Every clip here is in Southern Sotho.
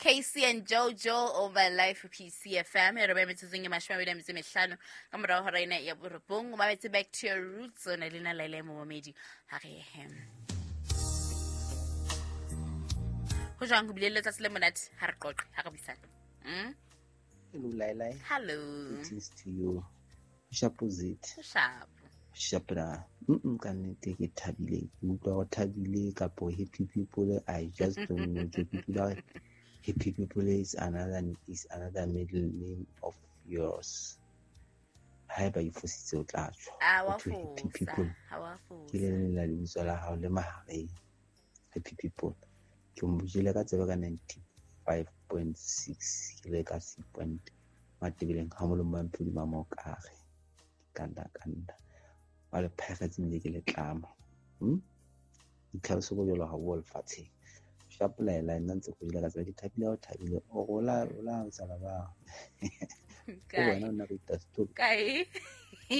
KC and Jojo over Life PCFM. E re ba metsotsong e 25 ka morao hora ena ya borobong. O mametse Back to Your Roots. O na le nna Laila Momamedi. Ha re ye. Ho jwang ho bile le letsatsi le monate? Ha re qoqe, ha re buisane. Hello, Laila. Hello. Greetings to you. Shapozit. Sharp. Shapra. Ka nnete ke thabile. Ke utlwa o thabile kapo happy people. I just don't know. Ke utlwa happy people is another middle name of yours. Haeba e fositse o tla tswa. A wa Ho thwe happy fosa. people. Ha wa Ke le fosa. leng la lebitso la hao le mahareng. Happy people. Ke mo jele ka tsebe ka 95.6 ke le ka C point. Matebeleng ha molomo wa mphodi ba mokare. Kanda kanda. Wa le phegetse mme ke le tlama. Ditlhaloso bo jwalo ha bo lefatsheng. Shapolela nna ntse go jele ka tsebe ke thabile o thabile o rola rola o tsala ba. O Kae? wena o nna re ita story. Kae?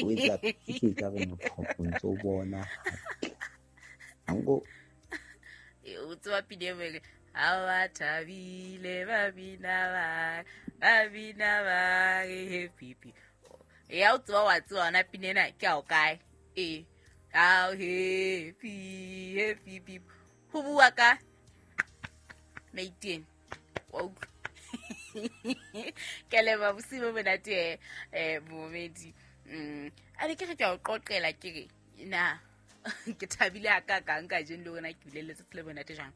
O etsa ke ka re motho o ntse o bona hantle. Hango O tseba pina e nngwe, ha ba thabile ba bina ba, ba bina ba re happy people. Ya o tseba wa tseba yona pina ena ke ya o kae? Ee. How happy, happy people. Ho bua ka Maiteng. Wa utlwa? Ke a leboha bosiu bo monate, momamedi. A ne ke re ke a o qoqela ke re na ke thabile hakakang kajeno le hore na ke bile le letsatsi le monate jwang.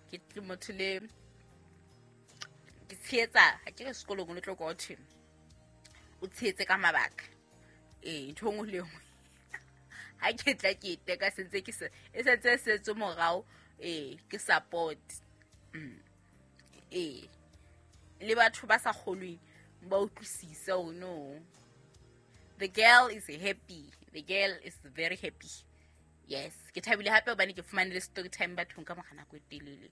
Ke motho le ke tshehetsa, ha ke re sekolong o tlo kwa ho thwe o tshehetse ka mabaka. Ee, ntho e nngwe le e nngwe. Ha ke tla ke teka sentse ke se, e sentse e setswe morao, ee, ke support. Ee. Le batho ba sa kgolweng ba utlwisise hore no. The girl is happy. The girl is very happy. Yes, ke thabile hape hobane ke fumane le story time bathong ka mora nako e telele.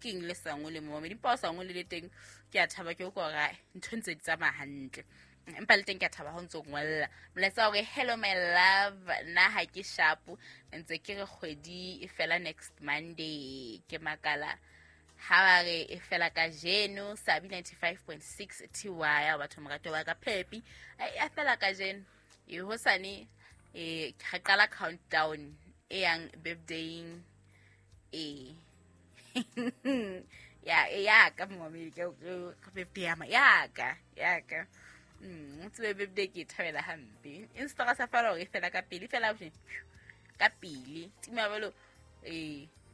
Ke eng le sa ngole mo? Empa o sa ngole le teng, ke a thaba ke utlwa hore ntho ntse di tsamaya hantle. Empa le teng ke a thaba ha o ntso ngolla. Molaetsa wa hore hello my love, nna ha ke sharp, ntse ke re kgwedi e fela next Monday. Ke makala ha ba re e fela kajeno, Sabi 95.6 TY, ya batho morato wa ka Pepi. Ai, e fela kajeno. E hosane, e re qala countdown e yang birthday-ing. E. Ya, e ya ka momamedi, ke birthday ya ma, ya ka, ya ka. O tsebe birthday ke e thabela hampe. Insta sa fela hore e fela ka pele, e fela ka pele. Tima jwalo,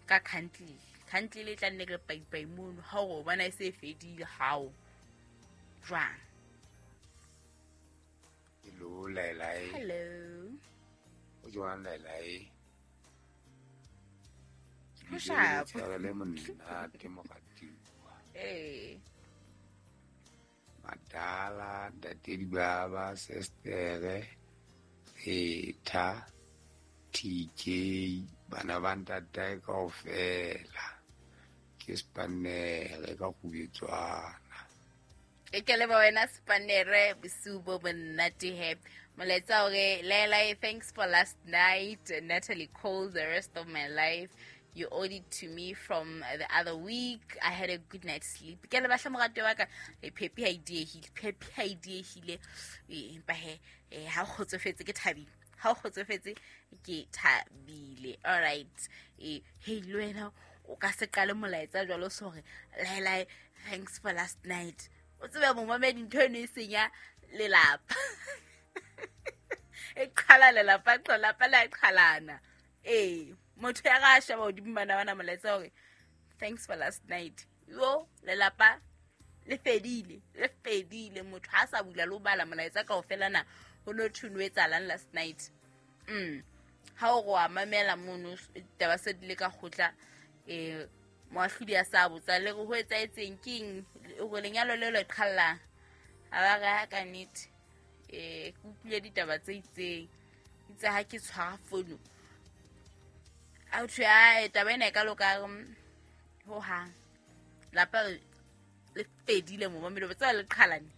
ka country. Country le tla nne re paipai mono, ha o bona e se e fedile, hao. Jwang? Hello, Laila. Hello. O jwang, Laila? Ho sharp. Ke le monate moratuwa. Ee. Madala, ntate Dibaba, Sestere, Etha, TK, bana ba ntatae kaofela. Ke Spanere ka Kgubetswana. E ke leboha wena Spanere, bosiu bo monate he. Molaetsa hore Laila, thanks for last night. Natalie Cole, the rest of my life. You owed it to me from the other week. I had a good night's sleep. Ke leboha hle moratuwa wa ka. Phepi ha e diehile, Phepi ha e diehile. Empa he, ha o kgotsofetse ke thabile. Ha o kgotsofetse ke thabile. All right. Hey, le wena o ka se qale molaetsa jwalo so hore Laila, thanks for last night. O tsebe momamedi ntho eno e senya lelapa. E qhala lelapa, lelapa le a qhalana. Ee, motho ya ga a sheba hodimo bana bana molaetsa hore thanks for last night. Yo, lelapa le fedile, le fedile. Motho ha sa bula le ho bala molaetsa kaofela na ho no thwe no etsahalang last night. Ha o re wa mamela mono, taba se di le ka kgotla, moahlodi a sa botsa le re ho etsahetseng ke eng, hore lenyalo leo le qhallang. Ha ba re ha ka nnete, ke utlwile ditaba tse itseng. Itse ha ke tshwara fono, a thwe, ae, taba ena e ka loka, ho hang. Lapa le fedile momamedi, o tseba le qhalane.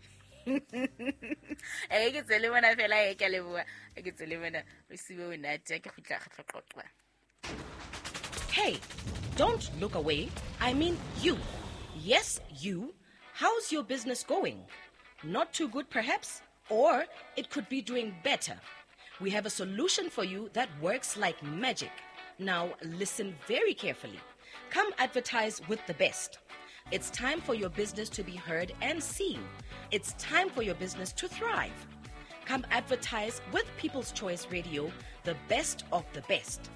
E ke tsele mona fela, e ke a leboha, e ke tsele mona. Bosiu bo monate, ke kgutla re tlo qoqa. Hey, don't look away. I mean you. Yes, you. How's your business going? Not too good, perhaps? Or it could be doing better. We have a solution for you that works like magic. Now, listen very carefully. Come advertise with the best. It's time for your business to be heard and seen. It's time for your business to thrive. Come advertise with People's Choice Radio, the best of the best.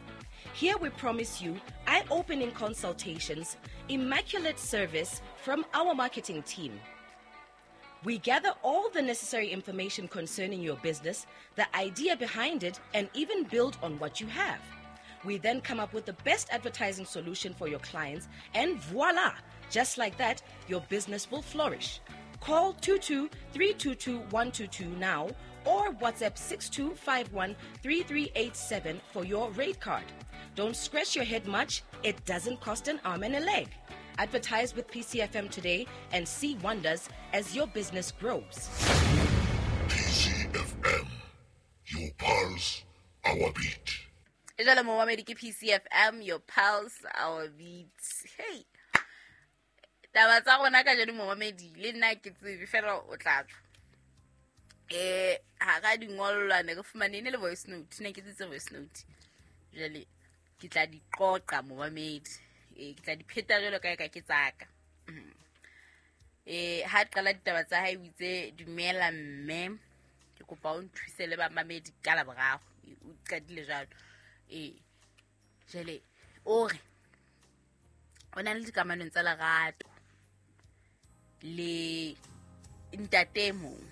Here we promise you eye opening consultations, immaculate service from our marketing team. We gather all the necessary information concerning your business, the idea behind it, and even build on what you have. We then come up with the best advertising solution for your clients, and voila! Just like that, your business will flourish. Call 22 322 122 now or WhatsApp 6251 3387 for your rate card. Don't scratch your head much, it doesn't cost an arm and a leg. Advertise with PCFM today and see wonders as your business grows. PCFM, your pulse, our beat. Jalo momamedi ke PCFM, your pulse, our beat. Hey, taba tsa rona ka jeno momamedi le nna ke tsebe fela o tla tswa. Ha ra dingolwa ne re fumane ne le voice note, ne ke tsitse voice note. Jwale ke tla di qoqa momamedi. Ke tla di pheta jwalo ka ka ke tsaka. Ha qala ditaba tsa hae o itse dumela mme ke kopa o nthuse le bamamedi ka la boraro. O qadile jwalo. Jwale o re o na le dikamanong tsa lerato le ntate mong.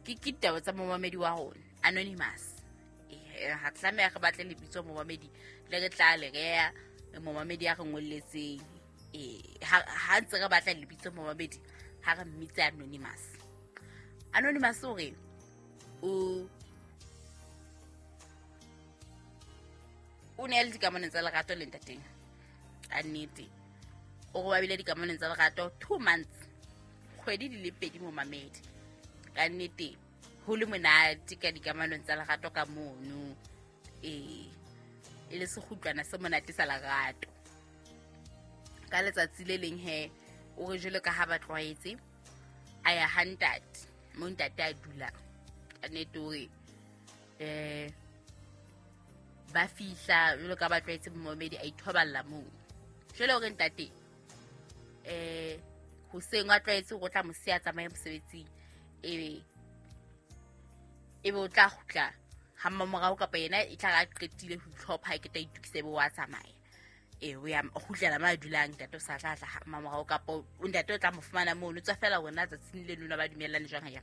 Ke ditaba tsa momamedi wa rona anonymous. Ha tlameha re batle lebitso momamedi le re tla le rea momamedi ya re ngolletseng. Ha ntse re batla lebitso momamedi ha re mmitse anonymous. Anonymous o re o ne le dikamanong tsa lerato le ntateng. Ka nnete o re ba bile dikamanong tsa lerato 2 months, kgwedi di le pedi momamedi. Ka nnete ho le monate ka dikamanong tsa lerato ka mono. E le sekgutlwana se monate sa lerato. Ka letsatsi le leng he o re jwalo ka ha ba tlwaetse a ya ha ntate mo ntate a dulang. Ka nnete o re ba fihla jwalo ka ba tlwaetse momamedi a ithoballa moo. Jwale o re ntate hoseng a tlwaetse go tla mo siya tsamaye mosebetsing, ebe o tla kgutla ha mmamorao kapa yena e tla ra qetile ho itlhopha ke tla itukise be wa tsamaya. O ya kgutlela ma dulang ntate o sa tla tla mmamorao kapa o ntate o tla mo fumana moo, o tswa fela wena tsatsing le lona ba dumellane jwang ha ya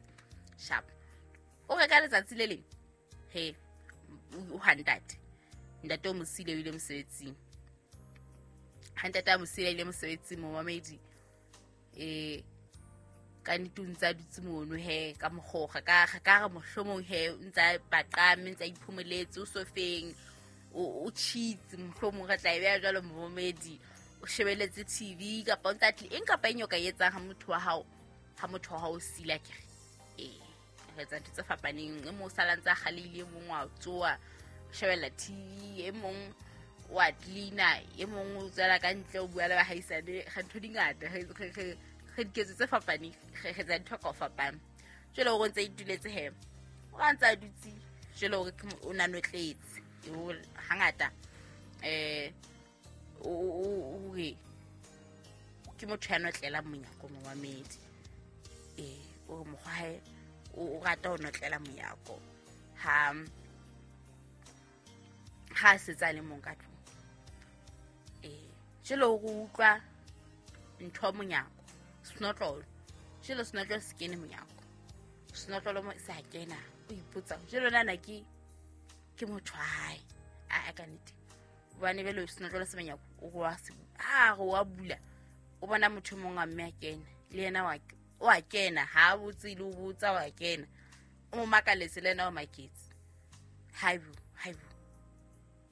sharp. O re ka letsatsi le leng he o ha ntate ntate o mo siile o ile mosebetsing. Ha ntate a mo siile ile mosebetsing momamedi ka nnete o ntse a dutse mono he ka mokgoga ka re mohlomong he o ntse a paqame ntse a iphomoletse o sofeng o cheats mohlomong re tla e beha jwalo momamedi o shebeletse TV kapa o ntse a tlile eng kapa eng o ka etsang ha motho wa hao o sila ke re re etsa ntho tse fapaneng. E mong o sala ntse a kgalehile, e mong wa tsoa o shebella TV, e mong wa cleaner, e mong o tswela ka ntle o bua le bahaisane. Re ntho di ngata re diketso tse fapaneng, re etsa ntho ka ho fapana. Jwale o ntse ituletse he o ra ntse a dutse jwale o re o na notletse hangata o re ke motho ya notlela monyako momamedi. O re mokgwa hae o rata ho notlela monyako ha setse a le mong ka tlung. Jwale o re utlwa ntho monyako senotlolo, jwale senotlolo se kene monyako, senotlolo mo se a kena. O ipotsa jwale nana ke motho wa hae a ka nnete hobane bele senotlolo se monyako o wa se a re wa bula o bona motho mong a mme a kena le yena wa kena ha botse le o botsa wa kena o mo makaletse le yena o maketse. Haibo haibo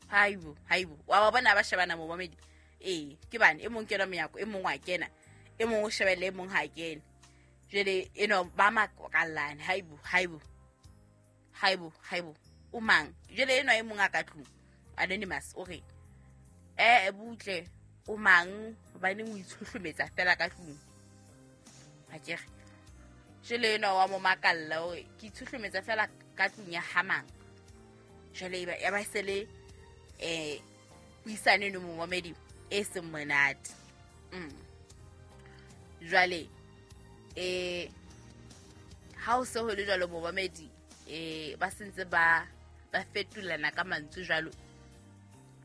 haibo haibo wa ba bona ba shebana momamedi. Ke bane e mong kena monyako e mong wa kena e mong o shebelle e mong ha kene. Jwale eno ba makallane haibo haibo haibo haibo o mang. Jwale eno e mong a ka tlung anonymous o re butle O mang hobaneng o itshohlometsa fela ka tlung? Akere jwale enwa wa mo makalla hore ke itshohlometsa fela ka tlung ya ha mang. Jwale ya ba sele puisano eno momamedi e seng monate. Jwale ha o se ho le jwalo momamedi, ba sentse ba fetolana ka mantswe jwalo.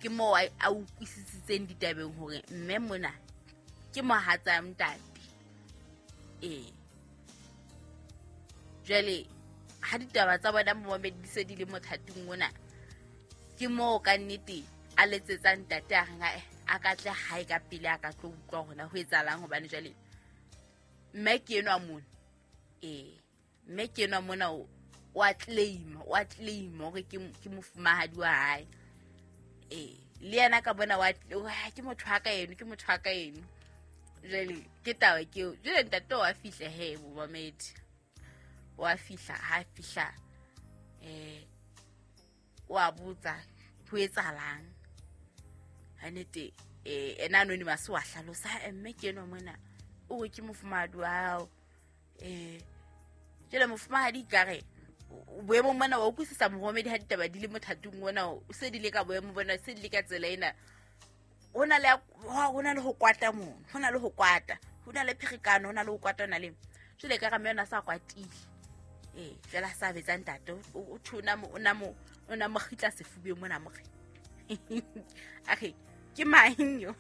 Ke moo a utlwisisitseng ditabeng hore mme mona ke mohatsa ntate. Jwale ha ditaba tsa bona momamedi di se di le mothating mona, ke moo ka nnete a letsetsang ntate a reng a ka tle hae ka pele a ka tlo utlwa hore na ho etsahalang, hobane jwale mme ke enwa mona. Mme ke enwa mona o a claim hore ke mofumahadi wa hae. Le yena ka bona wa ke motho wa ka eno, ke motho wa ka eno. Jwale ke taba ke eo. Jwale ntate wa fihla he momamedi, wa fihla, ha fihla wa botsa ho etsahalang. Ha nnete ena anonymous wa hlalosa, mme ke enwa mona o re ke mofumahadi wa hao. Jwale mofumahadi ekare boemong mona wa utlwisisa momamedi ha ditaba di le mothating ona, o se di le ka boemo bona, se di le ka tsela ena. Ho na le ho kwata mono, ho na le ho kwata, ho na le pherekano, ho na le ho kwata, ho na le jwale ka mme yona sa kwatile. Jwale a sa betsa ntate, o thona o na mo kgitla sefubeng mona mo re. Akhe ke mang yo?